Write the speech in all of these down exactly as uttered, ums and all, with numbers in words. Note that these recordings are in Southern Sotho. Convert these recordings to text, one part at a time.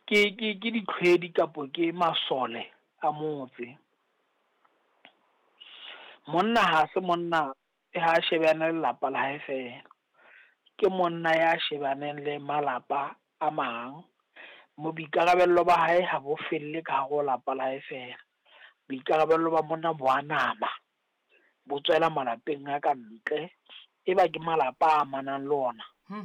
Ke ke ke ditlhwedi kapo ke masole a motse. Monna ha se monna ha shebane le lelapa la hae fela. Ke monna ya shebaneng le malapa a mang. Mo boikarabello ba hae ha bo felle ka hare ho lapa la hae fela. Boikarabello ba monna bo a nama, bo tswela malapeng a ka ntle. E ba ke malapa a amanang le ona Hmm.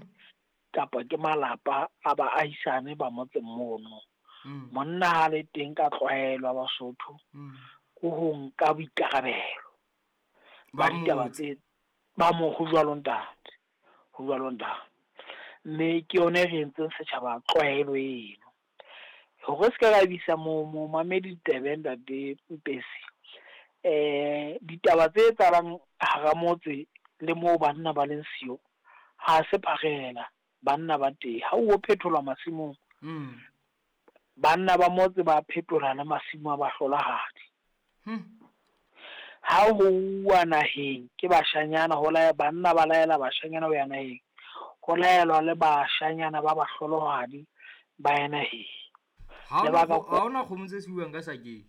kapa ke malapa a baahisane ba motseng mono. Hmm. Monna ha le teng ka tlwaelo ya Basotho Hmm. ke ho nka boikarabelo Ba ba ditaba motse. tse ba mo ho jwalo ntate, ho jwalo ntate. Mme ke yona e re entseng setjhaba tlwaelo eno. Hore se ka ra bisa mo momamedi ditebe ntate Mpesi, eh ditaba tse etsahalang hara motse le moo banna ba leng siyo, ha se pharela, banna ba teng. Ha ho phetholwa masimong, Hmm. banna ba motse ba phetola le masimo a bahlolohadi. Hmm. Ha ho uwa naheng ke bashanyana, ho laela banna ba laela bashanyana ho ya naheng. Ho laelwa le bashanyana ba bahlolohadi ba ya naheng. Ha hona Lebaka kgo- ha hona kgomo tse siuwang ka sakeng.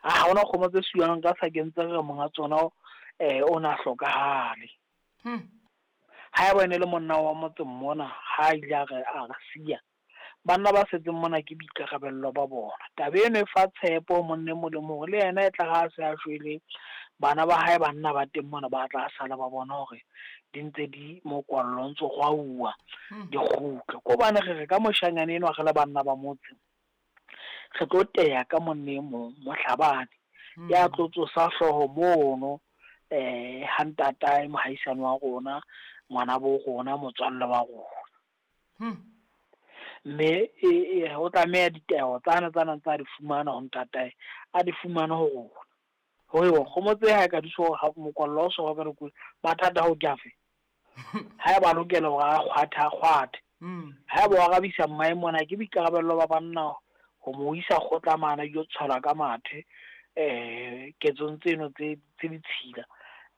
Ha hona kgomo tse siuwang ka sakeng tse re monga tsona eh o na hlokahale. Hmm. Ha eba ene le monna wa motseng mona, ha ile a re a re siya, banna ba setseng mona ke boikarabello ba bona. Taba eno e fa tshepo monna e mong le mong, le yena e tla ha se a shwele, bana ba hae banna ba teng mona ba tla sala ba bona hore di ntse di mokwallo o ntso rwauwa, Hmm. di kgutle. Ko hobane re re ka moshanyana enwa re le banna ba motse, re tlo teya ka monna e mong, mohlabani, Hmm. ya tlo tsosa hlooho mono, eh ha ntatae mohaisane wa rona, ngwana bo rona, motswalle wa rona. Hmm. Mme e, e ho tlameha ditaelo tsane tsana tsa di fumana ho ntatae, a di fumane ho rona. Hore kgomo tse ha e ka di so ha mokwallo o so ka dikolo, mathata ho ke afe? Ha eba lokela hore a kgwathe, a kgwathe. Hmm. Ha eba wa arabisa mmae mona, ke boikarabello ba banna ho mo isa kgotla mane, a ilo tshwelwa ka mathe, eh ketsong tseno tse, tse ditshila.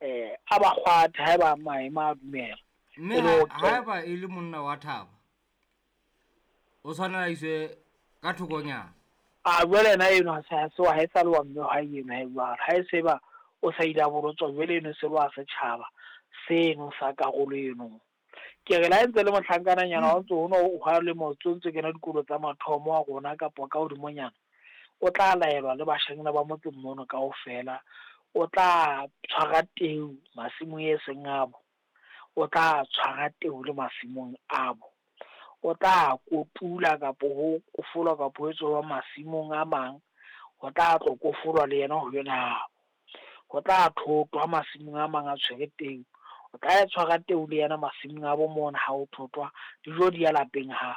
Eh, a ba kgwathe ha eba maemo a dumela. Mme E le ha ho ha eba e le monna wa thaba, o tshwanela a iswe ka thokonyana. A jwale yena eno ha se, ha se wa, ha e sa le wa mme wa hae eno ha e jwalo. Ha e se ba o sa ile a bolotswa, jwale eno se le wa setjhaba seno sa karolo eno. Ke re le ha ntse le mohlankana-nyana, wa ntso ho no hwa le motse o ntso kena dikolo tsa mathomo a rona kapa ka hodimonyana, o tla laelwa le bashanyana ba motseng mono kaofela. O tla tshwara teu masimong e seng abo, o tla tshwara teu le masimong abo, o tla kotula kapo ho kofolwa kapo ho etswa masimong a mang, ho tla tlo kofolwa le yena ho yona abo. Ho tla thotwa masimong a mang a tshwere teu, o tla tshwara teu le yena masimong a bo mona ha ho thotwa, dijo di ya lapeng ha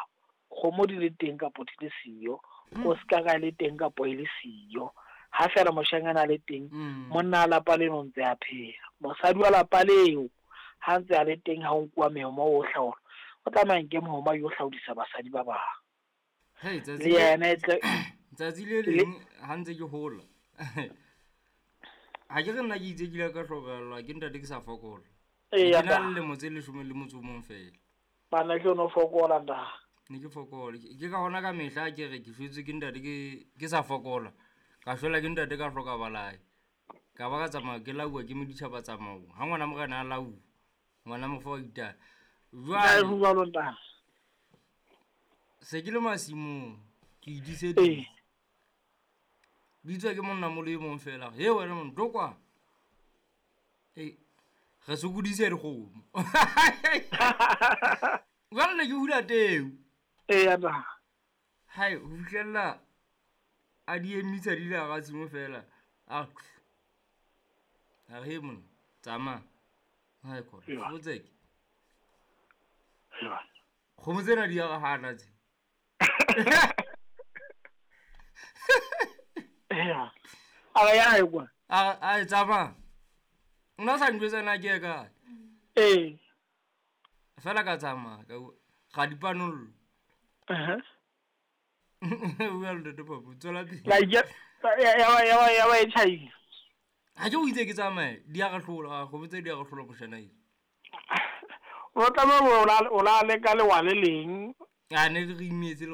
kgomo di le teng kapo di le siyo, o ska ka le teng kapo e le siyo. Ha feela moshanyana a le teng, Mm. monna a lapa leno ntse a phela. Mosadi wa lapa leo ha ntse a le teng, ha o nkuwa mehoma o hlaola, o tlameha nke mehoma yo hlaodisa basadi ba bang. Hei, tsatsi Le le yena e tle tsatsi le leng ha ntse ke hola. Ha ke re nna ke itse ke ile ka hlokahallwa ke ntate ke sa fokola. Eya, Ke na le ntate. lemo tse leshome le motso o mong fela. Bana ke yona o fokola ntate. Ne ke fokola. Ke, ke ka hona ka mehla ke re ke shwetswe ke ntate ke, ke sa fokola. Ka shwela ke ntate ka hloka balae. Ka ba ka tsamaya ke lauwa ke moditjhaba tsamaong. Ha ngwana morena a lauwa, ngwana mofa wa itaya. Jwale Ho jwalo ntate. se ke le masimong, ke idiseditse. Ee. Bitswa ke monna molo e mong fela. He wena monna, tlo kwa. Ee, re sokodise dikgomo. Jwale ne ke hula teu. Eya ntate. Hai, ho fihlella a di emisa di le hara tshimo fela. A a re, he monna, tsamaya. Hai khona, Ewa. fotseke. Ewa. Kgomo tsena di a re hana tse. Eya. A re ya hae kwa. A a e tsamaya. Nna sa njwetsa na ke ye kae. Ee. Fela ka tsamaya ka bua, ga di panollo. Uh-huh. Bua le ntate Phapu, tswela pele. La ya ya ya ya ya ba e tjhaile. Ha ke o itse ke tsamaye, di a re hlola, kgomo tse di a re hlola moshana eno. O tlameha o la o la leka lewa le leng. A ne re imetse le